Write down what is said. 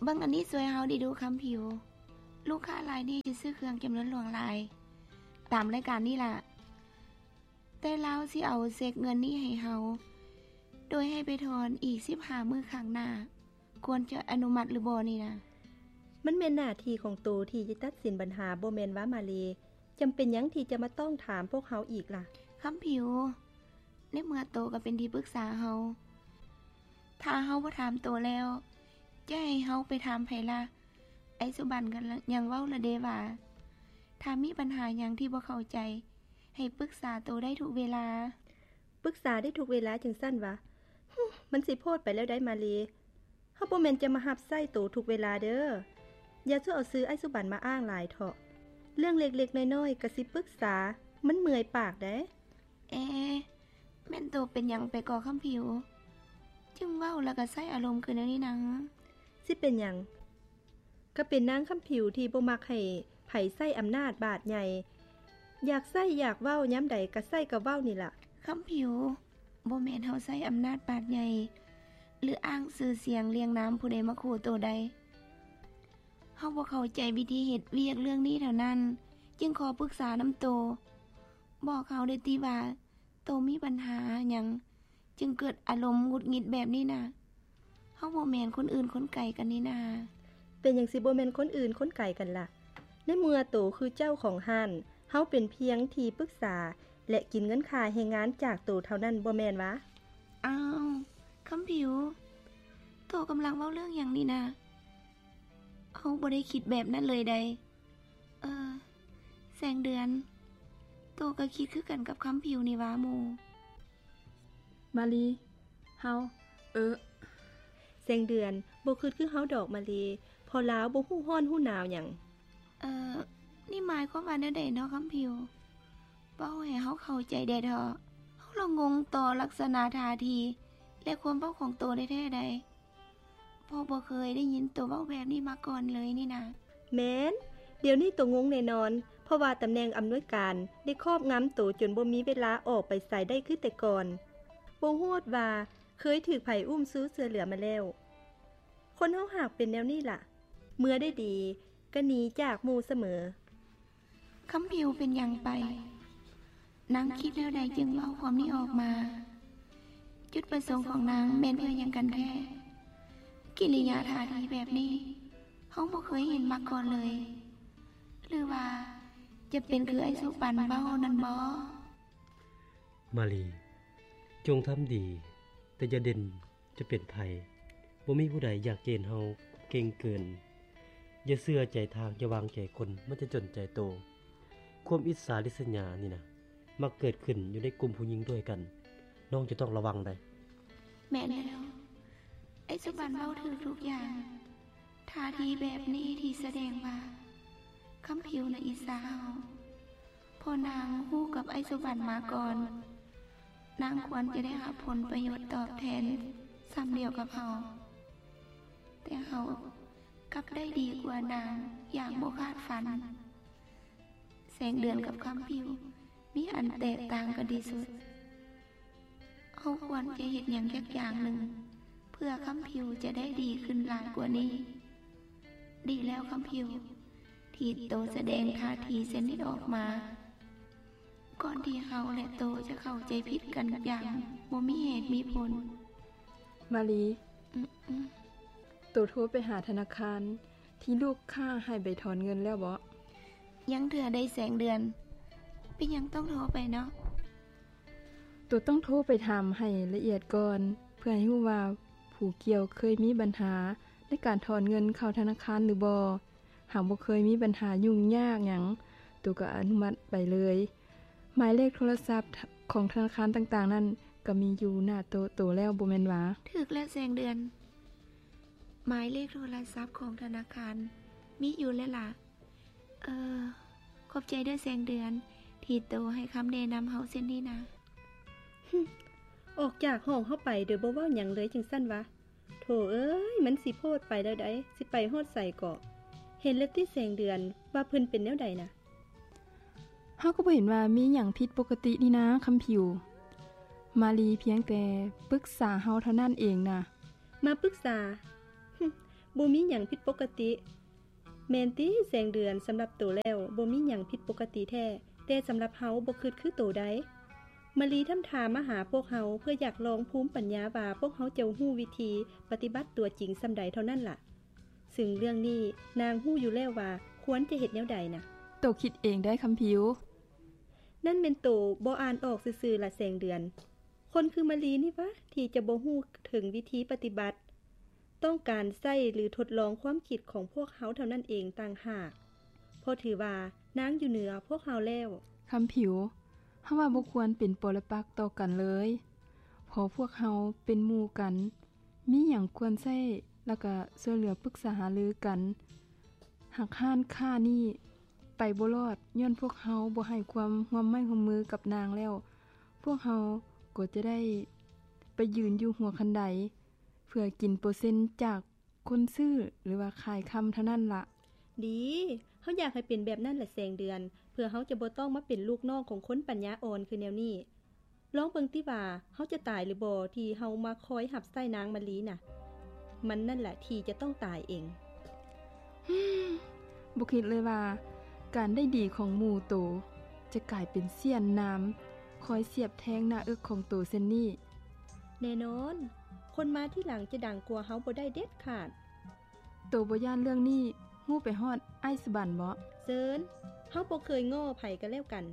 ເບິ່ງອັນນີ້ຊ່ວຍເຮົາແດ່ດູຄຳຜິວ. ລູກຄ້າລາຍນີ້ຈະຊື້ເຄື່ອງຈຳນວນຫຼວງຫຼາຍ ຕາມລາຍການນີ້ລະ, ແຕ່ລາວຊິເອົາເຊັກເງິນນີ້ໃຫ້ເຮົາ ໂດຍໃຫ້ໄປຖອນອີກສິບຫ້າມື້ຂ້າງໜ້າ. ຄວນຈະອະນຸມັດຫຼືບໍ່ນີ້ນະ? ມັນແມ່ນໜ້າທີ່ຂອງໂຕທີ່ຈະຕັດສິນບັນຫາ ບໍ່ແມ່ນຫວາມາລີ? ຈຳເປັນຫຍັງທີ່ຈະມາຕ້ອງຖາມພວກເຮົາອີກລະ? ຄຳຜິວ, ໃນເມື່ອໂຕກໍເປັນທີ່ປຶກສາເຮົາ, ຖ້າເຮົາບໍ່ຖາມໂຕແລ້ວ ຈະໃຫ້ເຮົາໄປຖາມໃຜລະ? ໄອ້ສຸບັນກໍຍັງເວົ້າລະເດວ່າ ຖ້າມີບັນຫາຫຍັງທີ່ບໍ່ເຂົ້າໃຈ ໃຫ້ປຶກສາໂຕໄດ້ທຸກເວລາ. ປຶກສາໄດ້ທຸກເວລາຈັ່ງຊັ້ນຫວາ? ຫຶ ມັນຊິໂພດໄປແລ້ວໃດ໋ມາລີ. ເຮົາບໍ່ແມ່ນຈະມາຮັບໃຊ້ໂຕທຸກເວລາເດີ. ຢ່າສູ່ເອົາຊື່ອ້າຍສຸບັນມາອ້າງຫຼາຍເຖາະ. ເລື່ອງເລັກໆນ້ອຍໆກໍຊິປຶກສາ, ມັນເມື່ອຍປາກໃດ໋. ເອ ແມ່ນໂຕເປັນຫຍັງໄປກໍຄຳຜິວ? ຈຶ່ງເວົ້າແລ້ວກໍໃຊ້ອາລົມຄືແນວນີ້ນະ? ຊິເປັນຫຍັງ? ກໍເປັນນາງຄຳຜິວທີ່ບໍ່ມັກໃຫ້ໃຜໃຊ້ອຳນາດບາດໃຫຍ່, ຢາກໃຊ້ຢາກເວົ້າຍາມໃດກໍໃຊ້ກໍເວົ້ານີ້ລະ. ຄຳຜິວ, ບໍ່ແມ່ນເຮົາໃຊ້ອຳນາດບາດໃຫຍ່ ຫຼື ອ້າງຊື່ສຽງລຽງນາມຜູ້ໃດມາຂູ່ໂຕໄດ໋. ເຮົາບໍ່ເຂົ້າໃຈວິທີເຮັດວຽກເລື່ອງນີ້ເທົ່ານັ້ນ, ຈຶ່ງຂໍປຶກສານຳໂຕ. ບອກເຮົາໄດ້ຕິວ່າ ໂຕມີບັນຫາຫຍັງຈຶ່ງເກີດອາລົມຫງຸດຫງິດແບບນີ້ນະ? ເຮົາບໍ່ແມ່ນຄົນອື່ນຄົນໄກກັນນີ້ນາ. ເປັນຫຍັງຊິບໍ່ແມ່ນຄົນອື່ນຄົນໄກກັນລະ? ໃນເມື່ອໂຕຄືເຈົ້າຂອງຮ້ານ, ເຮົາເປັນພຽງທີ່ປຶກສາ ແລະ ກິນເງິນຄ່າແຮງງານຈາກໂຕເທົ່ານັ້ນ ບໍ່ແມ່ນຫວາ? ອ້າວ ຄຳຜິວ, ໂຕກຳລັງເວົ້າເລື່ອງຫຍັງນີ້ນະ? ເຮົາບໍ່ໄດ້ຄິດແບບນັ້ນເລີຍໃດ. ເອີ ແສງເດືອນ, ໂຕກໍຄິດຄືກັນກັບຄຳຜິວນີ້ຫວາໝູ່? ມາລີ, ເຮົາ, ເອີ. ແສງເດືອນ, ບໍ່ຄິດຄືເຮົາດອກມາລີ, ເພາະລາວບໍ່ຮູ້ຮ້ອນຮູ້ໜາວຫຍັງ. ເອີ ນີ້ໝາຍຄວາມວ່າແນວໃດເນາະຄຳຜິວ? ເວົ້າໃຫ້ເຮົາເຂົ້າໃຈແດ່ເຖາະ. ເຮົາລະງົງຕໍ່ລັກສະນະທ່າທີ ແລະ ຄວາມເວົ້າຂອງໂຕແທ້ໆໃດ. ເພາະບໍ່ເຄີຍໄດ້ຍິນໂຕເວົ້າແບບນີ້ມາກ່ອນເລີຍນີ້ນະ. ແມ່ນ, ດຽວນີ້ໂຕງົງແນ່ນອນ, ເພາະວ່າຕຳແໜ່ງອຳນວຍການໄດ້ຄອບງຳໂຕຈົນບໍ່ມີເວລາອອກໄປໃສໄດ້ຄືແຕ່ກ່ອນ. ບໍ່ຮູ້ວ່າເຄີຍຖືກໃຜອຸ້ມຊູຊ່ວຍເຫຼືອມາແລ້ວ. ຄົນເຮົາຫາກເປັນແນວນີ້ລະ, ເມື່ອໄດ້ດີກໍໜີຈາກໝູ່ສະເໝີ. ຄຳຜິວເປັນຫຍັງໄປ? ນາງຄິດແນວໃດຈຶ່ງເວົ້າຄວາມນີ້ອອກມາ? ຈຸດປະສົງຂອງນາງແມ່ນເພື່ອຫຍັງກັນແທ້? ກິລິຍາທ່າທີແບບນີ້ ເຮົາບໍ່ເຄີຍເຫັນມາກ່ອນເລີຍ. ຫຼືວ່າຈະເປັນຄືອ້າຍສຸບັນເວົ້ານັ້ນບໍ? ມາລີ, ຈົ່ງທຳດີ, ແຕ່ຢ່າເດັ່ນ ຈະເປັນໃຜ. ບໍ່ມີຜູ້ໃດຢາກເກນເຮົາເກັ່ງເກີນ. ຢ່າເຊື່ອໃຈທາງ, ຢ່າວາງໃຈຄົນ, ມັນຈະຈົນໃຈໂຕ. ຄວາມອິດສາລິດສະຫຍານີ້ນະ ມັກເກີດຂຶ້ນຢູ່ໃນກຸ່ມຜູ້ຍິງດ້ວຍກັນ. ນ້ອງຈະຕ້ອງລະວັງໃດ໋. ແມ່ນແລ້ວ. ໄອ້ສຸບັນເວົ້າຖືກທຸກຢ່າງ. ທ່າທີແບບນີ້ທີ່ສະແດງວ່າຄຳຜິວນະອິດສາເຮົາ. ເພາະນາງຮູ້ກັບໄອ້ສຸບັນມາກ່ອນ, ນາງຄວນຈະໄດ້ຮັບຜົນປະໂຫຍດຕອບແທນສ່ຳດຽວກັບເຮົາ, ແຕ່ເຮົາກັບໄດ້ດີກວ່ານາງຢ່າງບໍ່ຄາດຝັນ. ແສງເດືອນກັບຄຳຜິວມີອັນແຕກຕ່າງກັນທີ່ສຸດ. ເຮົາຄວນຈະເຮັດຫຍັງຈັກຢ່າງໜຶ່ງ ເພື່ອຄຳຜິວຈະໄດ້ດີຂຶ້ນຫຼາຍກວ່ານີ້. ດີແລ້ວຄຳຜິວ ທີ່ໂຕສະແດງທ່າທີເຊັ່ນນີ້ອອກມາ, ກ່ອນທີ່ເຮົາ ແລະ ໂຕຈະເຂົ້າໃຈຜິດກັນຢ່າງບໍ່ມີເຫດມີຜົນ. ມາລີ, ອືມ, ໂຕໂທໄປຫາທະນາຄານທີ່ລູກຄ້າໃຫ້ໄປຖອນເງິນແລ້ວບໍ? ຍັງເທື່ອໃດແສງເດືອນ. ເປັນຫຍັງຕ້ອງໂທໄປເນາະ? ໂຕຕ້ອງໂທໄປຖາມໃຫ້ລະອຽດກ່ອນ ເພື່ອໃຫ້ຮູ້ວ່າຜູ້ກ່ຽວເຄີຍມີບັນຫາໃນການຖອນເງິນເຂົ້າທະນາຄານຫຼືບໍ່. ຫາກບໍ່ເຄີຍມີບັນຫາຫຍຸ້ງຍາກຫຍັງ, ໂຕກໍອະນຸມັດໄປເລີຍ. ໝາຍເລກໂທລະສັບຂອງທະນາຄານຕ່າງໆນັ້ນ ກໍມີຢູ່ໜ້າໂຕະໂຕແລ້ວ ບໍ່ແມ່ນຫວາ? ຖືກແລ້ວແສງເດືອນ, ໝາຍເລກໂທລະສັບຂອງທະນາຄານມີຢູ່ແລ້ວລະ. ເອີ, ຂອບໃຈເດີແສງເດືອນ ທີ່ໂຕໃຫ້ຄຳແນະນຳເຮົາເຊັ່ນນີ້ນະ. ອອກຈາກຫ້ອງເຮົາໄປໂດຍບໍ່ເວົ້າຫຍັງເລີຍຈັ່ງຊັ້ນຫວາ? ໂຖເອີຍ, ມັນຊິໂພດໄປແລ້ວໃດ໋, ຊິໄປຮອດໃສເກາະ? ເຫັນແລ້ວຕິແສງເດືອນ ວ່າເພິ່ນເປັນແນວໃດນະ? ເຮົາກໍບໍ່ເຫັນວ່າມີຫຍັງຜິດປົກກະຕິນີ້ນາຄຳຜິວ. ມາລີພຽງແຕ່ປຶກສາເຮົາເທົ່ານັ້ນເອງນະ. ມາປຶກສາ? ຫຶ, ບໍ່ມີຫຍັງຜິດປົກກະຕິ. ແມ່ນຕິແສງເດືອນ? ສຳລັບໂຕແລ້ວບໍ່ມີຫຍັງຜິດປົກກະຕິແທ້, ແຕ່ສຳລັບເຮົາບໍ່ຄິດຄືໂຕໃດ໋. ມະລີທຳທ່າມາຫາພວກເຮົາ ເພື່ອຢາກລອງພູມປັນຍາວ່າພວກເຮົາຈະຮູ້ວິທີປະຕິບັດຕົວຈິງສ່ຳໃດເທົ່ານັ້ນລະ. ຊຶ່ງເລື່ອງນີ້ນາງຮູ້ຢູ່ແລ້ວວ່າຄວນຈະເຮັດແນວໃດນະ. ໂຕຄິດເອງໄດ້ຄຳຜິວ. ນັ້ນແມ່ນໂຕບໍ່ອ່ານອອກຊື່ໆລະແສງເດືອນ. ຄົນຄືມະລີນີ້ຫວາ ທີ່ຈະບໍ່ຮູ້ເຖິງວິທີປະຕິບັດ, ຕ້ອງການໃຊ້ ຫຼື ທົດລອງຄວາມຄິດຂອງພວກເຮົາເທົ່ານັ້ນເອງຕ່າງຫາກ, ເພາະຖືວ່ານາງຢູ່ເໜືອພວກເຮົາແລ້ວ. ຄຳຜິວ, ເຮົາວ່າບໍ່ຄວນເປັນປໍລະປັກຕໍ່ກັນເລີຍ. ເພາະພວກເຮົາເປັນໝູ່ກັນ, ມີຫຍັງຄວນໃຊ້ ແລ້ວກະຊ່ວຍເຫຼືອປຶກສາຫາລືກັນ. ຫາກຮ້ານຄ້ານີ້ໄປບໍ່ລອດ ຍ້ອນພວກເຮົາບໍ່ໃຫ້ຄວາມຮ່ວມໄມ້ຮ່ວມມືກັບນາງແລ້ວ, ພວກເຮົາກໍຈະໄດ້ໄປຢືນຢູ່ຫົວຄັນໄດ ເພື່ອກິນເປີເຊັນຈາກຄົນຊື້ ຫຼືວ່າຂາຍຄຳເທົ່ານັ້ນລະ. ດີ, ເຮົາຢາກໃຫ້ເປັນແບບນັ້ນລະແສງເດືອນ, ເພື່ອເຮົາຈະບໍ່ຕ້ອງມາເປັນລູກນ້ອງຂອງຄົນປັນຍາອ່ອນຄືແນວນີ້. ລອງເບິ່ງຕິວ່າເຮົາຈະຕາຍຫຼືບໍ່ ທີ່ເຮົາມາຄອຍຮັບໃຊ້ນາງມະລີນະ. ມັນນັ້ນແຫຼະທີ່ຈະຕ້ອງຕາຍເອງ. ບໍ່ຄິດເລີຍວ່າການໄດ້ດີຂອງໝູ່ໂຕຈະກາຍເປັນສ້ຽນໜາມ ຄອຍສຽບແທງໜ້າເອິກຂອງໂຕເຊັ່ນນີ້. ແນ່ນອນ, ຄົນມາທີຫຼັງຈະດັງກວ່າເຮົາບໍ່ໄດ້ເດັດຂາດ. ໂຕບໍ່ຢ້ານເລື່ອງນີ້ຮູ້ໄປຮອດອ້າຍສະບັນບໍ? ເຊີນ, ເຮົາບໍ່ເຄີຍງໍ້ໃຜກັນແລ້ວກັນ.